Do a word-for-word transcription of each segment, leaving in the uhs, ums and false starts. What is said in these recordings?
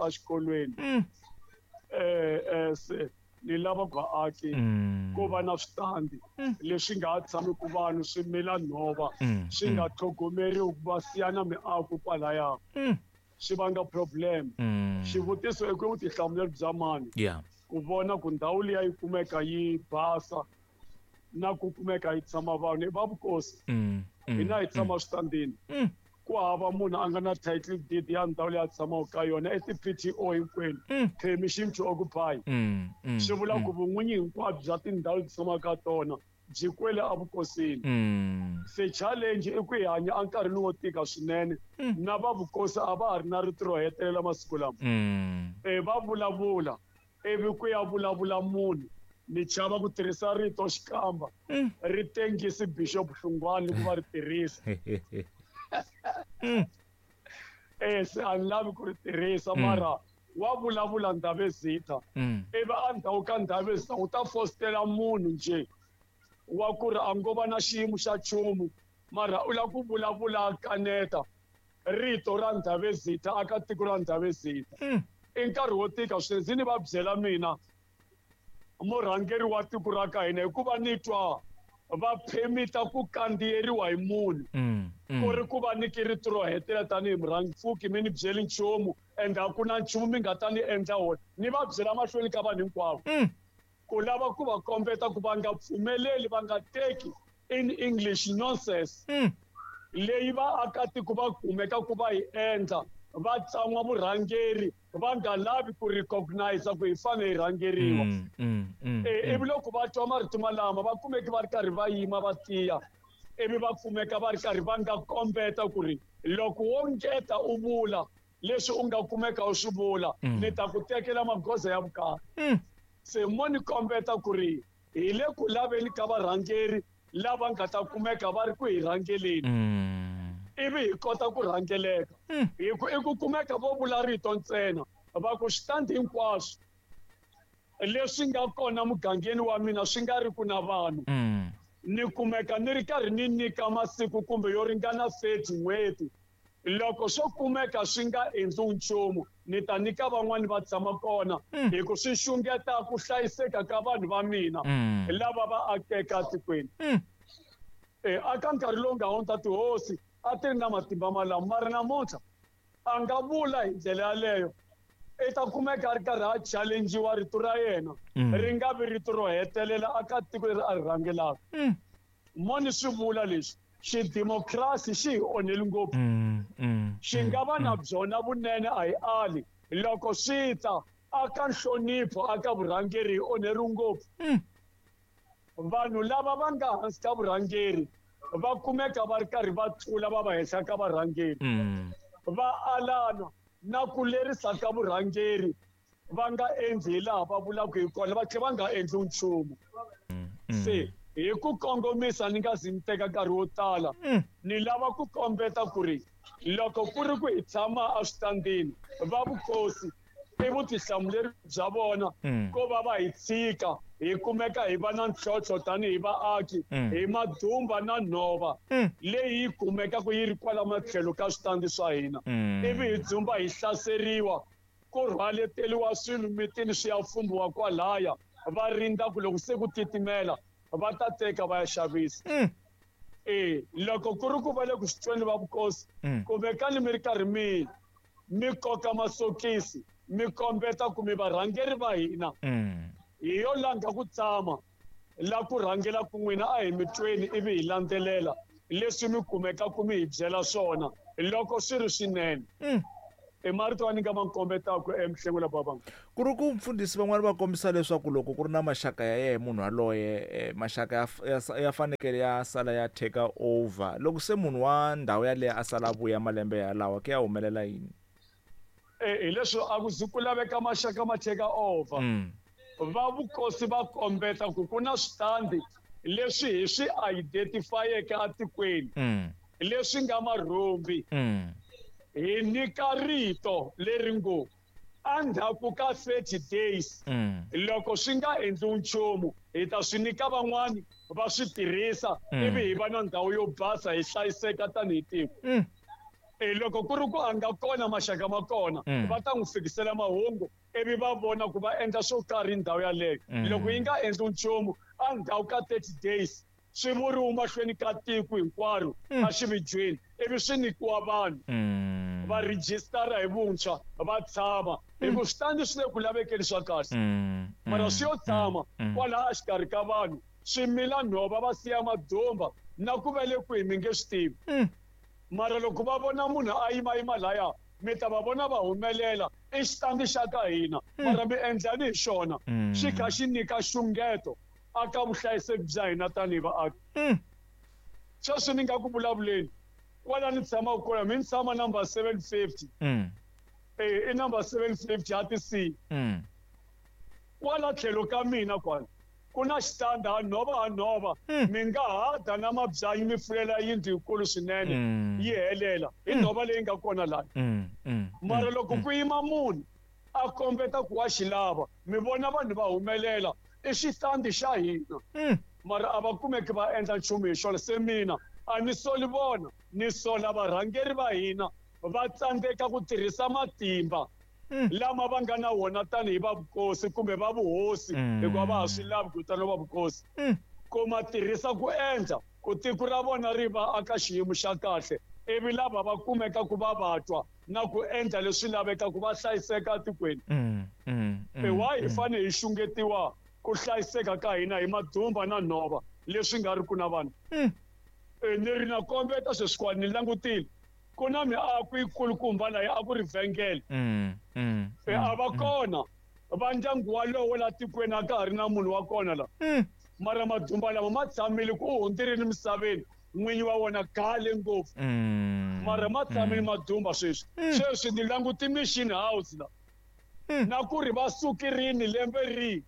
exikolweni um ni lava vaaki ku va na switandi leswi nga ha tshamiki vanhu swi mila nhova swi nga tlhogomeriwi ku va siya na miako kwalaya swi vanga problem. Xivutiso i ku vutihlamuleri bya mani ku vona ku ndhawu liya yi kumeka yi basa na ku kumeka yi tshama vanhu i va vukosi hina hi tshama switandini ku hava munhu a nga na title deed ya ndhawu leyi a tshamaka ka yona i ti-P T O hinkwenu permission to occupy swi vula ku vun'winyi hinkwabyo bya tindhawu leti tshamaka ka tona byi kwele evukosini. Se challenge i ku hi hanya enkarhini wo tika swinene na va vukosi a va ha ri na rito ro hetelela masiku lama va vulavula ivi ku ya vulavula munhu ni chava ku tirhisa rito xikamba ri tengisi Bishop Hlungwani ku va ri tirhisa eh se a ni lavi ku ri tirhisa mara wa vulavula Ndhavezitha ivi endzhaku ka Ndhavezitha u ta fositela munhu nje wa ku ri a ngo va na xiyimo xa nchumu mara u lava ku vulavula kaneta rito ra Ndhavezitha aka tiko ra Ndhavezitha. I nkarhi wo tika swinene ndzi ni va byela mina murhangeri wa tiko ra ka hina hikuva ni twa va phemita ku kandziyeriwa hi munhu ku ri ku va nyiki rito ro hetelela tanihi murhangi pfuki mi ni byeli nchumu ende a ku na nchumu mi nga ta ni endla wona ni va byela mahlweni ka vanhu hinkwavo ku lava ku va kombeta ku va nga pfumeleli va nga teki in English nonsense leyi vaakatiko va kumeka ku va yi endla va tsan'wa vurhangeri va nga lavi ku recognize ku hi fanele hi rhangeriwa. Ivi loko va twa marito malama va kumeki va ri karhi va yima va tiya ivi va kumeka va ri karhi va nga kombeta ku ri loko wo ngeta u vula leswi u nga kumeka u swi vula ni ta ku tekela magoza ya vukarhi. Se mo ni kombeta ku ri hi le ku laveni ka varhangeri lava nga ta kumeka va ri ku hi rhangeleni ivi hi kota ku rhangeleka hi ku i ku kumeka vo vula rito ntsena va ku xitandi hinkwaswo leswi nga kona mugangeni wa mina swi nga ri ku na vanhu ni kumeka ni ri karhi ni nyika masiku kumbe yo ringana thirty n'hweti loko swo kumeka swi nga endli nchumu ni ta nyika van'wani va tshama kona hi ku swi xungeta ku hlayiseka ka vanhu va mina lava va akeka etikweni. Aka nkarhi lowu nga hundza tihosi a ti ri na matimba malamo mara namuntlha a nga vula hi ndlela yaleyo i ta kumeka a ri karhi a challengiwa rito ra yena ri nga vi rito ro hetelela aka tiko leri a ri rhangelaka. Mo ni swi vula leswi xidemokirasi xi hi onheli ngopfu xi nga va na byona vunene a hi ali loko swi ta aka nhlonipho aka vurhangeri hi onheriwi ngopfu. Vanhu lava va nga hansi ka vurhangeri va kumeka va ri karhi va tlula va va henhla ka varhangeri va alana na ku lerisa ka vurhangeri va nga endli hi laha va vulaka hi kona va tlhela va nga endli nchumu. Se hi ku kongomisa ni nga zi ni teka nkarhi wo tala ni lava ku kombeta ku ri loko ku ri ku hi tshama eswitandini va vukosi i vutihlamuleri bya vona ko va va hi tshika hi kumeka hi va na ntlhontlho tanihi vaaki hi madumba na nhova leyi yi kumekaka yi ri kwala matlhelo ka switandi swa hina ivi hi dzumba hi hlaseriwa ku rhwaleteriwa swilo mitini swi ya fumbiwa kwalaya va rindza ku loko se ku titimela va ta teka va ya xavisa. E loko ku ri ku va le ku swi tweni va vukosi kumekani mi ri karhi mi mi koka masokisi mi kombeta ku mi varhangeri va hina hi yo langa ku tshama la ku rhangela ku n'wina a hi mi tweni ivi hi landzelela leswi mi kumeka ku mi hi byela swona loko swi ri swinene. I marito a ni nga ma kombetaka emhlengula babanga ku ri ku mfundhisi van'wani va kombisa leswaku loko ku ri na maxaka ya yena munhu yaloye maxaka ya ya fanekele ya sala ya take over loko se munhu wa ndhawu yaleyo a sala a vuya malembe yalawa ku ya humelela yini? Hi leswi a ku zi ku laveka maxaka ma take over va vukosi va kombeta ku ku na switandi leswi hi swi identifyeke etikweni leswi nga marhumbi hi nyika rito leri ngo endzhaku ka thirty days loko swi nga endli nchumu hi ta swi nyika van'wani va swi tirhisa ivi hi va na ndhawu yo basa hi hlayiseka tanihi tiko. E loko ku ri ku a nga kona maxaka ma kona va ta n'wi fikisela mahungu ivi va vona ku va endla swo karhi ndhawu yaleyo. Loko yi nga endli nchumu a ndhawu ka thirty days swi vuriwa mahlweni ka tiko hinkwaro a xividyweni ivi swi nyikiwa vanhu va rejistara hi vuntshwa va tshama hi ku switandi swi le ku lavekeni swa kahle mara swi yo tshama kwalaha exikarhi ka vanhu swi mila nhova va siya madumba na ku va le kwihi mi nge swi tivi. Mara loko va vona munhu a yimayima laya mi ta va vona va humelela i xitandi xa ka hina mara mi endlani hi xona xi kha xi nyika xungeto aka vuhlayiseki bya hina tanihi vaaki. Sweswi ni nga ku vulavuleni kwala ni tshamaka kona mi ni tshama number seven fifty e i number seven fifty ya ti-C kwala tlhelo ka mina kwala ku na xitanda a nhova a nhova mi nga hada na mabyanyi mi fulela yindlu yikulu swinene yi helela hi nhova leyi nga kona laha. Mara loko ku yima munhu a kombeta ku wa xi lava mi vona vanhu va humelela i xitandi xa hina mara a va kumeki va endla nchumu hi xona. Se mina a ni soli vona ni sola varhangeri va hina va tsandzeka ku tirhisa matimba lama va nga na wona tanihi va vukosi kumbe va vuhosi hikuva va ha swi lavi ku vitana va vukosi ku ma tirhisa ku endla ku tiko ra vona ri va aka xiyimo xa kahle ivi lava va kumeka ku va vatwa na ku endla leswi lavekaka va hlayiseka etikweni. E why hi fanele hi xungetiwa ku hlayiseka ka hina hi madumba na nhova leswi nga ri ku na vanhu? E ni ri na kombeta sweswikwani ni langutile ku na miako yikulukumba laha a ku ri vhengele e a va kona va ndyangu walowo la tikweni a ka ha ri na munhu wa kona la mara madumba lama ma tshamile ku u hundzirile misaveni n'winyi wa wona khale ngopfu mara ma tshamile madumba sweswi. Sweswi ni languti mission house la na ku ri va sukirini lembe rihi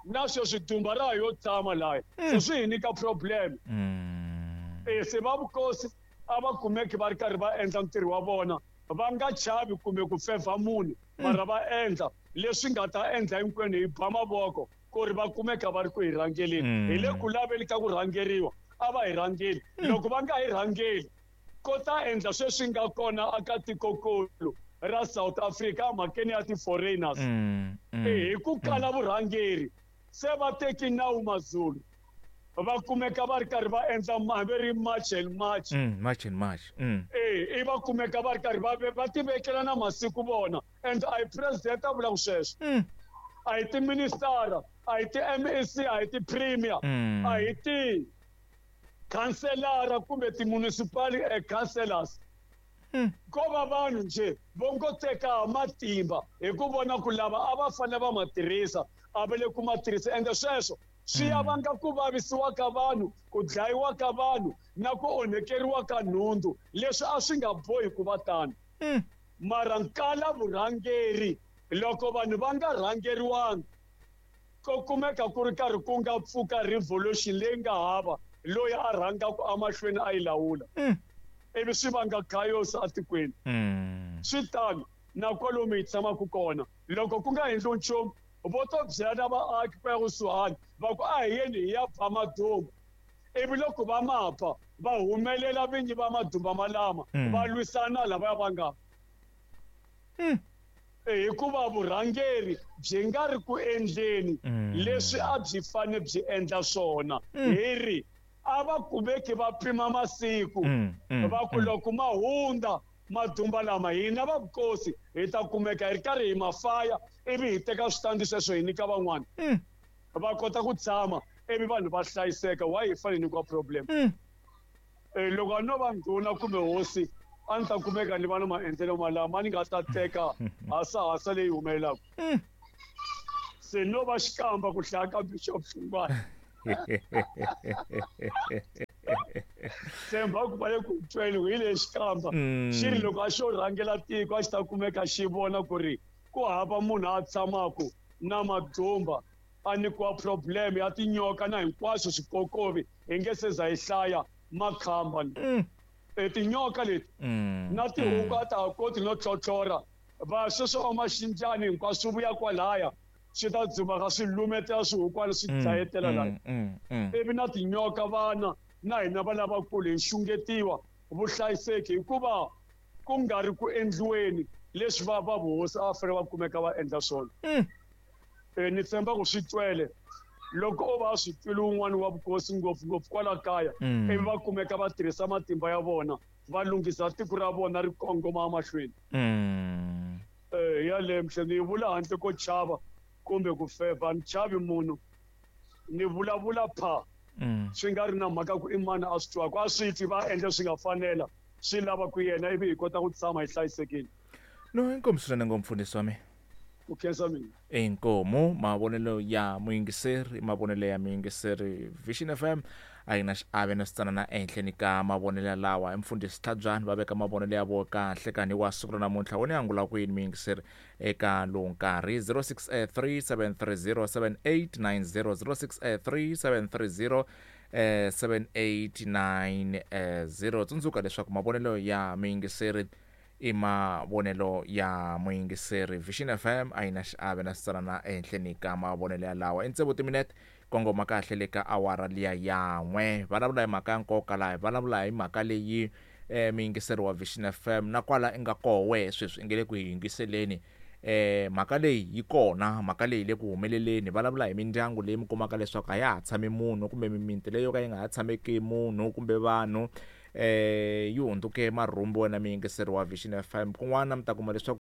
na sweswi dumba ra yo tshama laha se swi hi nyika problem. E se va vukosi a va kumeki va ri karhi va endla ntirho wa vona va nga chavi kumbe ku fevha munhu mara va endla leswi nga ta endla hinkwenu hi ba mavoko ku ri va kumeka va ri ku hi rhangeleni. Hi le ku laveni ka ku rhangeriwa a va hi rhangeli. Loko va nga hi rhangeli ko ta endla sweswi nga kona aka tikokulu ra South Africa mhakeni ya ti-foreigners hi ku kala vurhangeri se va teki nawu Mazulu va kumeka va ri karhi va endla va ri march and march march and march e i va kumeka va ri karhi va va tivekela na masiku vona and a hi president a vulaka sweswo a hi tiministara a hi ti-M E C a hi ti-premier a hi ti-councillor kumbe ti-municipal councillors ko va vanhu nje vo ngo teka matimba hi ku vona ku lava a va fanele va ma tirhisa a va le ku ma tirhisa ende sweswo swi ya vanga ku vavisiwa ka vanhu ku dlayiwa ka vanhu na ku onhekeriwa ka nhundzu leswi a swi nga bohi ku va tano. Mara nkala vurhangeri loko vanhu va nga rhangeriwanga ko kumeka ku ri karhi ku nga pfuka revolution leyi nga hava loyi a rhangaka emahlweni a yi lawula ivi swi vanga chaos etikweni. Swi tano na kwalomu hi tshamaka kona loko ku nga endli nchumu vo to byela vaaki ku ya kusuhani va ku a hi yeni hi ya ba madumba ivi loko va mapa va humelela vinyi va madumba malama va lwisana lavaya va nga hikuva vurhangeri byi nga ri ku endleni leswi a byi fane byi endla swona. Hi ri a va kumeki va pima masiku va ku loko ma hundza madumba lama hina va vukosi hi ta kumeka hi ri karhi hi mafaya ivi hi teka switandi sweswo hi nyika van'wana va kota ku tshama ivi vanhu va hlayiseka. Why hi fanele nyikiwa problem? Loko a no va ndhuna kumbe hosi a ni ta kumeka ni va na maendlelo malama ni nga ta teka hasahasa leyi humelelaka. Se no va xikamba ku hlaya ka Bishop Hlungwani. Tshemba ku va le ku tweni hi le xikamba xi ri loko a xo rhangela tiko a xi ta kumeka xi vona ku ri ku hava munhu a tshamaka na madumba a nyikiwa problem ya tinyoka na hinkwaswo swikokovi hi nge se za hi hlaya makhamba e tinyoka leti na tihuku a ta ha koti no tlhotlhora va sweswo va maxinjani hinkwaswo swi vuya kwalaya swi ta dzumaka swi lumetela swihukwana swi dlayetela laya ivi na tinyoka vana na hina va lavakulu hi xungetiwa vuhlayiseki hikuva ku nga ri ku endliweni leswi va va vuhosi a va fanele va kumeka va endla swona. Mm. E ni tshemba ku swi twele loko o va swi twile un'wana wa vukosi ngopfungopfu kwala kaya, Mm. ivi va kumeka va tirhisa matimba ya vona va lunghisa tiko ra vona ri kongoma emahlweni. Mm. Eh yaleyo mhle ni yi vula handle ko chava kumbe ku feva, ni chavi munhu, ni vulavula pha Mm. swi nga ri na mhaka ku i mani a swi twaka, a swi twi va endla swi nga fanela, swi lava ku yena ivi hi kota ku tshama hi hlayisekile. No, inkomu swinene ngopfu mfundhisi wa mina. Ku khensa mina. Inkomu mavonelo ya muyingiseri, mavonelo ya muyingiseri. Vision F M a yi na xiave na switsanana ehenhleni ka mavonelo lawa. Mfundhisi Tlhabyani va veka mavonelo ya vona kahle kani wa siku ra namuntlha. Wona ya angula ku yini muyingiseri eka lowu nkarhi? zero six three seven three zero seven eight nine zero, zero six three seven three zero seven eight nine zero. Tsundzuka leswaku mavonelo ya muyingiseri i mavonelo ya muyingiseri. Vision F M a yi na xiave na switsanana ehenhleni ka mavonelo ya lawa. I tsevu timinete kongoma kahle le ka awara liya yan'we. Vulavula hi mhaka ya nkoka laha, vulavula hi mhaka leyi eh muyingiseri wa Vision F M na kwala i nga koho wehe sweswi i nge le ku yingiseleni. Eh mhaka leyi yi kona, mhaka leyi le ku humeleleni. Vulavula hi mindyangu leyi mi kumaka leswaku a ya ha tshami munhu, kumbe mimiti leyi yo ka yi nga ha tshameki munhu kumbe vanhu, eh yi hundzuke marhumbi. Wena muyingiseri wa Vision F M, kun'wana mi ta kuma leswaku